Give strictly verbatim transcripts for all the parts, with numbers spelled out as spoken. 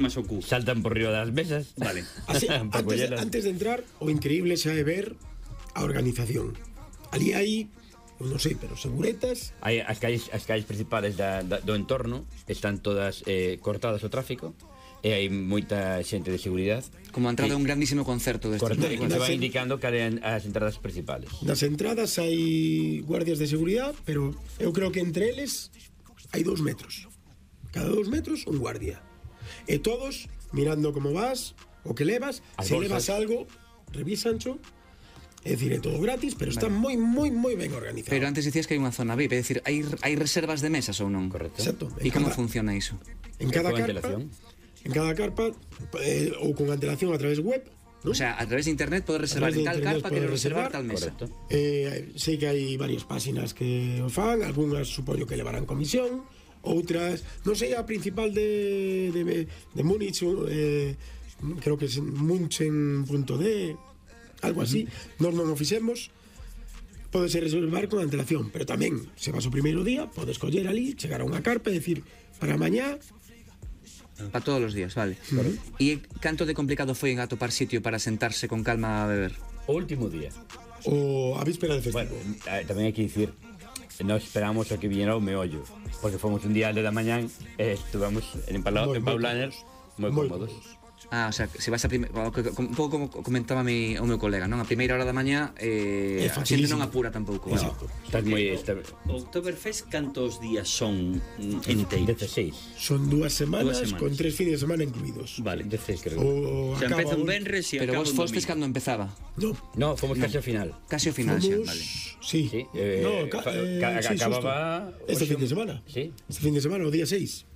Más o cu. Saltan por riba das mesas. Vale. Así, antes, de, antes de entrar, o increíble xa é ver a organización. Ali hai, non sei, pero seguretas. Hai as calles, as calles principales da, da, do entorno están todas eh, cortadas o tráfico e hai moita xente de seguridade. Como a entrada de un grandísimo concerto deste. Correcto, e que te va Nas en- indicando cales as entradas principales. Nas entradas hai guardias de seguridade, pero eu creo que entre eles hai dous metros. Cada dous metros un guardia. E todos mirando como vas, o que levas, As se bolsas. levas algo, revisancho. É dicir, é todo gratis, pero está moi, moi, moi ben organizado. Pero antes dicías que hai unha zona V I P, é dicir, hai, hai reservas de mesas ou non? Correcto. Exacto. E como Cada- funciona iso? En cada Con carpa, antelación. en cada carpa eh, ou con antelación a través web, ¿no? O sea, a través de internet podes reservar A través en de tal internet carpa, quero podes reservar reservar, tal mesa. Correcto. Eh, sei que hai varias páxinas que o fan, algunhas supoño que levarán comisión, outras, non sei, a principal de de, de Múnich, eh, creo que é munchen punto d, algo así. Nós non o fixemos. Podes reservar con antelación, pero tamén, se vas o primeiro día, podes coller ali, chegar a unha carpa e decir, para mañá. Para todos os días, vale. Uh-huh. E canto de complicado foi en atopar sitio para sentarse con calma a beber? O último día. O a víspera del Bueno, festivo. eh, tamén hai que dicir, nós esperamos a que viñera o meollo, porque fomos un día de da mañán e estuvamos en, Paula, Moi- en moi Paulaner moi Moi cómodos. Ah, o sea, se vas a primeira, un pouco como comentaba mi, o meu colega, non? A primeira hora da mañá eh, É a xente facilísimo. non apura tampouco. No, estás moi... Está, O Oktoberfest cantos días son mm, enteiros? dezasseis. Son dúas semanas, Dúas semanas. con tres fines de semana incluídos. Vale. dezasseis, creo. O Se acaba empeza un o- venres e Pero acaba vos un fostes domingo. cando empezaba. No, No, fomos casi ao final. Casi ao final xa, fomos... vale. Sí. Sí, eh, no, ca, fa- eh, ca- sí, acababa xusto. Este oxe- fin de semana. Sí. Este fin de semana, o día seis.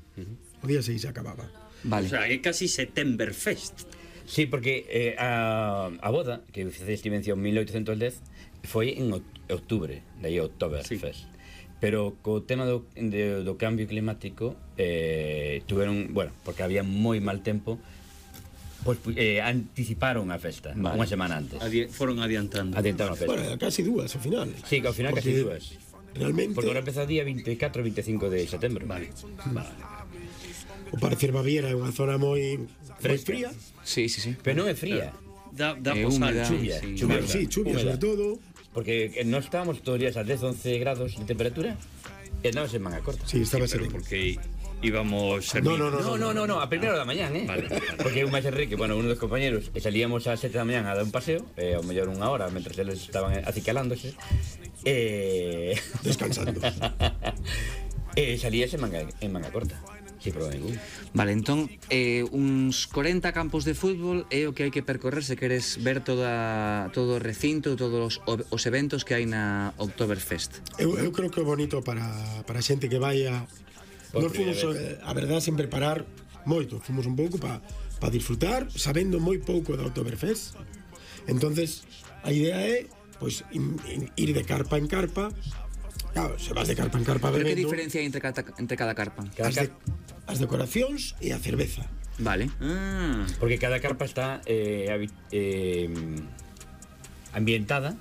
O día seis acababa. Vale. O sea, é casi Septemberfest. Sí, porque eh, a, a boda, que fixeste mención en mil oitocentos dez, foi en oct- outubro, daí Oktoberfest. Sí. Pero co tema do, de, do cambio climático eh, tuveron, bueno, porque había moi mal tempo, pois eh, anticiparon a festa, Vale. unha semana antes. Adi foron adiantando. Adiantaron a festa. Bueno, casi dúas ao final. Sí, que ao final Porque casi dúas. Realmente, Porque ahora empeza o día veinticuatro e veinticinco de setembro. Vale. o parecer Baviera é unha zona moi moi Fresca. fría. Sí, sí, sí. Pero non é fría, Da, da Eh, posal, húmeda, chuvia. sí. chuvia. Bueno, sí, chuvia Húmeda. sobre todo. porque non estábamos todos os días a dez, once grados de temperatura e andábamos en manga corta. Sí, estaba Pero sereno. porque íbamos a No, no, no, No, no, no, no, a primeira hora da mañán, eh? Vale, vale. Porque eu máis Enrique, bueno, uno dos compañeros, e salíamos ás sete da mañán a dar un paseo, e ao mellor unha hora, mentre eles estaban acicalándose, e... Descansando. e salías en manga, en manga corta, sin problema ningún. Vale, entón, eh, uns corenta campos de fútbol é o que hai que percorrer se queres ver toda, todo o recinto, todos os, os eventos que hai na Oktoberfest. Eu, eu creo que é bonito para, para a xente que vai a... Por Nos fomos, primeira eh, a verdad, sen preparar moito. Fomos un pouco para pa disfrutar, sabendo moi pouco da Oktoberfest. Entonces, a idea é pois, in, in, ir de carpa en carpa. Claro, se vas de carpa en carpa Pero que bebendo, diferencia hai entre cada, entre cada carpa? Cada as, de, car- as decoracións e a cerveza. Vale. Ah, Porque cada carpa está eh, habi- eh, ambientada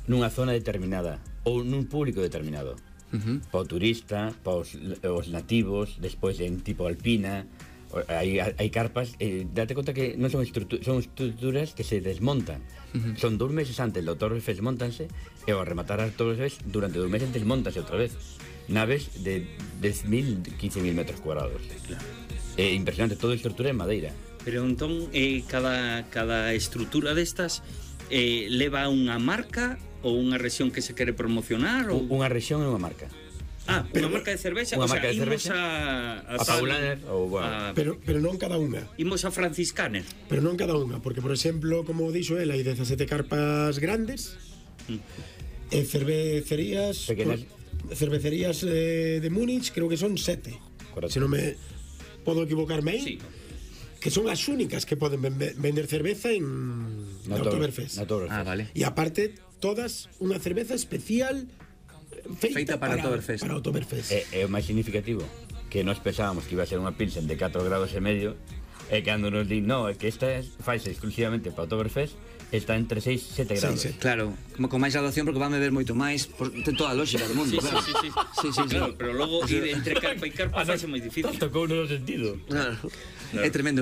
nunha zona determinada ou nun público determinado. Uh-huh. Para o turista, para os, os nativos, despois en tipo alpina, o- hai, hai carpas, eh, date conta que non son, estrutu son estruturas que se desmontan. Uh-huh. Son dous meses antes do Oktoberfest desmontanse e ao rematar a Oktoberfest durante dous meses desmontanse outra vez. Naves de dez mil, quince mil metros cuadrados. claro. É impresionante, toda a estrutura en madeira. Pero entón, eh, cada, cada estrutura destas eh, leva unha marca ou unha rexión que se quere promocionar ou... Unha rexión e unha marca. Ah, unha marca de cervexa, Unha o sea, marca de imos cervexa. a... A tal- Paulaner ou, bueno. a- Pero, pero non cada unha. Imos a Franciscaner. Pero non cada unha, porque, por exemplo, como dixo el, hai dezasete carpas grandes e cervecerías... Pequenas. Cervecerías eh, de Múnich creo que son sete. Correcto. Se non me podo equivocarme aí. Sí. Que son as únicas que poden ven- vender cerveza en Na na Oktoberfest. na Oktoberfest. Ah, vale. E aparte, todas unha cerveza especial feita, Feita para Oktoberfest. Para Oktoberfest. É, é o máis significativo que nós pensábamos que iba a ser unha pilsen de catro grados e medio e cando nos di, no, é que esta faise exclusivamente para Oktoberfest, está entre seis e sete grados. sete. Claro, como con máis graduación porque van beber moito máis, por, ten toda a lógica do mundo. Sí, sí, claro. sí, sí. Sí, sí, sí. Claro, pero logo ir entre carpa e carpa fase moi difícil. Tocou no sentido. Claro. É tremendo.